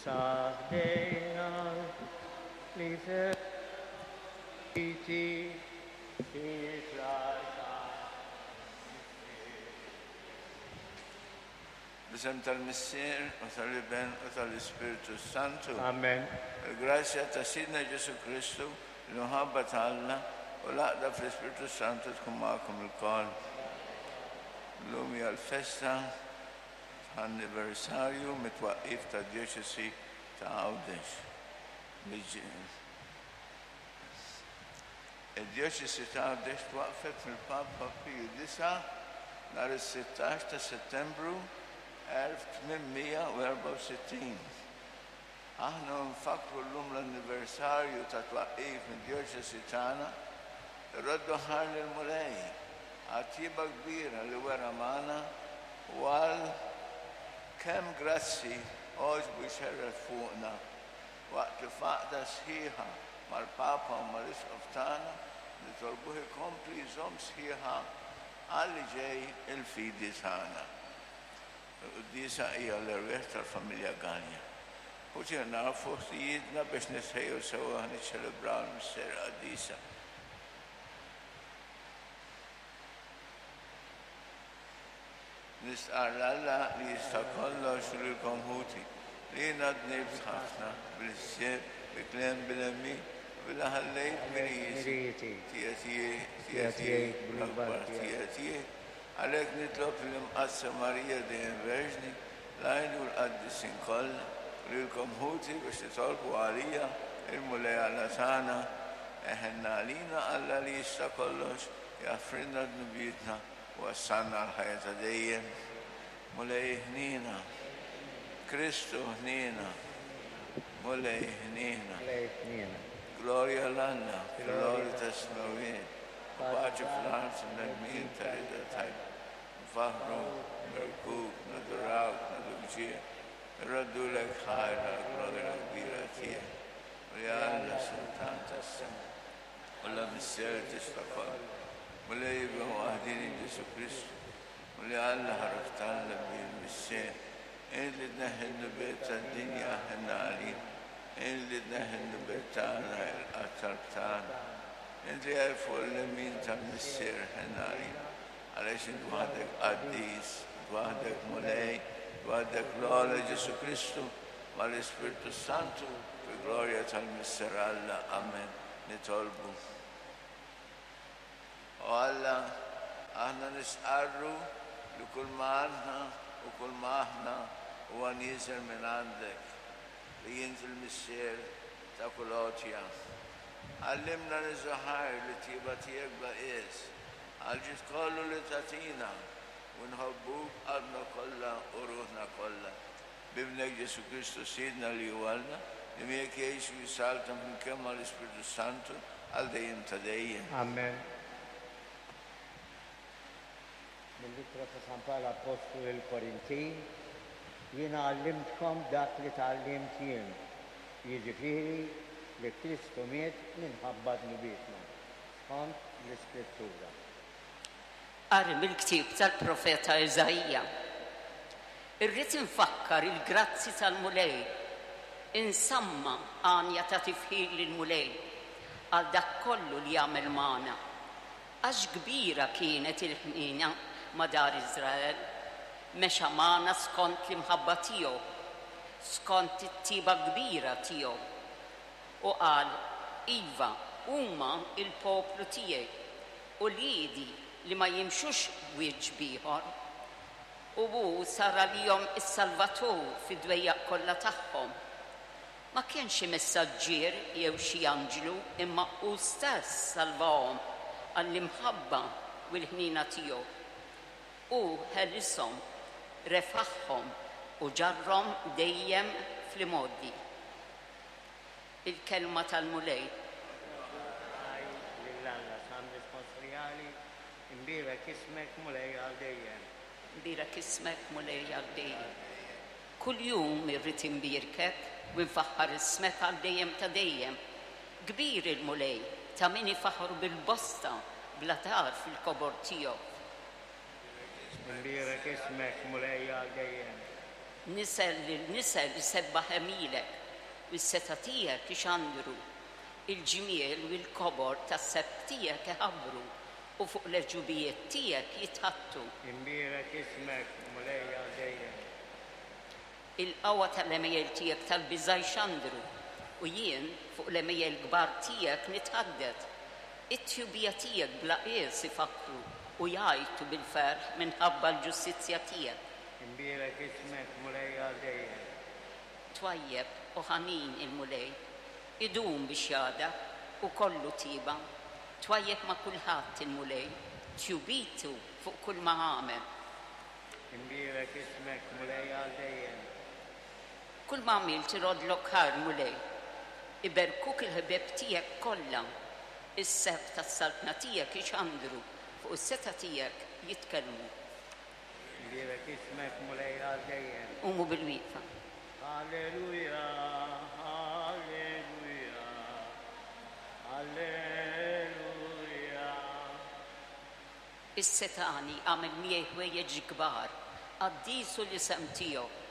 Issa ħdejna li feriti B'isem tal-Missier u tal-Iben u tal-Ispirtu s-Santu. Amen. Il-grazzja ta' Sidna Ġesù Kristu, l-imħabba ta' Alla u l-għaqda fl-Ispirtu s-Santu tkun magħkom ilkoll. Illum hija l-festa ta' anniversarju mit-twaqqif tad-Djoċesi ta' Għawdex. Id-Djoċesi ta' Għawdex twaqqfet mill-Papa Piju Disa' nhar is-sittax ta' Settembru 1864. Aħna u nfakkru llum l-anniversarju tat-twaqqif mid-Djoċesi tagħna, irroddu ħajr lill-Mulej għat-tjieba kbira li wera magħna u għal kemm grazzi għoġbu jxerred fuqna Waqt li f'għaqda sħiħa mal-Papa u mal-Isqof tagħna nitolbuh ikompli jżomm sħiħa għal li ġej il-fidi tagħna. Il-quddiesa hija l-erwieħ tal-familja Galea. Ħuti nagħrfu ħtijietna biex nitħejjew sewwa niċċelebraw il-misteri qaddisa. Nistqarr 'l Alla li jista' kollox u lilkom ħuti, li jiena dnibt ħafna, bil-ħsieb, bil-kliem, bil-għemil, u billi ħallejt mirijieti, tija tiegħi, tija tiegħi, l-akbar tija tiegħi. Għalhekk nitlob lill-Imqaddsa Marija dejjem Verġni, l-anġli u l-qaddisin kollha, u lilkom ħuti biex titolbu għalija il-Mulej Alla tagħna. Eħenna għalina Alla li jista' kollox, jaħfrilna dnubietna, Wassalna għall-ħajja ta' dejjem. Mulej ħniena. Kristu ħniena. Mulej ħniena. Glorja 'l Alla fil-għoli tas-smewwiet, u paċi fl-art bnedmin ta' rieda tajba. Nfaħħruk, nberkuk, nadurawk, nagħtuk ġieħ, nroddulek ħajr għall-glorja kbira tiegħek. Mulej Alla, Sultan tas-sema. Alla Missier tista' kollox, Mulej Iben waħdieni Ġesù Kristu, Mulej Alla ħaruf t'Alla bil-Missier, int li tneħħi d-dnubiet tad-dinja ħenna għalina, int li tneħħi d-dnubiet tagħna ilqa' t-talb tagħna, int li għej fuq il-lemin tal-Missier ħenna għalina, għaliex int waħdek qaddis, int waħdek Mulej, int waħdek l-ogħla Ġesù Kristu, mal-Ispirtu s-Santu, fil-glorja tal-Missier Alla. Amen. Nitolbu. O Alla, aħna nistqarru li kull ma għandna u kull ma aħna huwa nieżel minn għandek, li int il-Missier ta' kull għotja. Għallimna niżżu ħajr lit-tjieba tiegħek bla qies, għall-ġid kollu li tagħtina, u nħobbuk b'qalbna kollha u ruħna kollha. B'Ibnek Ġesù Kristu Sidna li hu Alla, li miegħek jgħix u jsaltan flimkien mal-Ispirtu s-Santu għal dejjem ta' dejjem. Amen. Mill-Ittra ta' San Pawl Appostlu lill-Korintin, Jiena għallimtkom dak li tgħallimt jien, jiġifieri li Kristu miet minħabba dnubietna, skont l-Iskrittura. Qari mill-ktieb tal-profeta Iżaija. Irrid infakkar il-grazzi tal-Mulej, insamma' għanja ta' tifħir lill-Mulej għal dak kollu li għamel magħna, għax kbira kienet il-ħniena ma' dar Iżrael, mexa magħna skont l-imħabba tiegħu, skont it-tjieba kbira tiegħu. U qal, Iva, huma l-poplu tiegħi, uliedi li ma jimxux b'wiċċ b'ieħor. U hu sar għalihom is-Salvatur fid-dwejjaq kollha tagħhom. Ma kienx xi messaġġier jew xi anġlu imma hu stess salvahom għall-imħabba u l-ħniena tiegħu. Hu ħelishom, refagħhom u ġarrhom dejjem fl-imgħoddi. Il-Kelma tal-Mulej. Ħaj lil Alla, Salm Responsoriali, Imbierek ismek, Mulej, għal dejjem. Imbierek ismek, Mulej, għal dejjem. Kuljum irrid imbierkek u nfaħħar ismek għal dejjem ta' dejjem. Kbir il-Mulej, ta' min ifaħħru bil-bosta, bla tarf il-kobor tiegħu. Imbierek ismek, Mulej, għal dejjem. Nisel lil nisel isebbaħ għemilek, u s-setgħa tiegħek ixandru. Il-ġmiel u l-kobor tas-sebħ tiegħek iħabbru, u fuq l-għeġubijiet tiegħek jitħaddtu. Imbierek ismek, Mulej, għal dejjem. Il-qawwa tal-għemejjel tiegħek tal-biża' jxandru, u jien fuq l-għemejjel kbar tiegħek nitħaddet. It-tjubija tiegħek bla qies ifakkru, u jgħajtu bil-ferħ minħabba l-ġustizzja tiegħek. Imbierek ismek, Mulej, għal dejjem. Twajjeb u ħanin il-Mulej, idum biex jagħdab, u kollu tieba. Twajjeb ma' kulħadd il-Mulej, tjubitu fuq kull ma għamel. Imbierek ismek, Mulej, għal dejjem. Kull ma għamilt iroddlok ħajr, Mulej. Iberkuk il-ħbieb tiegħek kollha. Is-sebħ tas-saltna tiegħek ixandru, fuq is-setgħa tiegħek jitkellmu. Imbierek ismek, Mulej, għal dejjem. Qumu bil-wieqfa. Alleluja, alleluja, alleluja. Is-setgħani għamel miegħi ħwejjeġ kbar, qaddis hu l-isem tiegħu.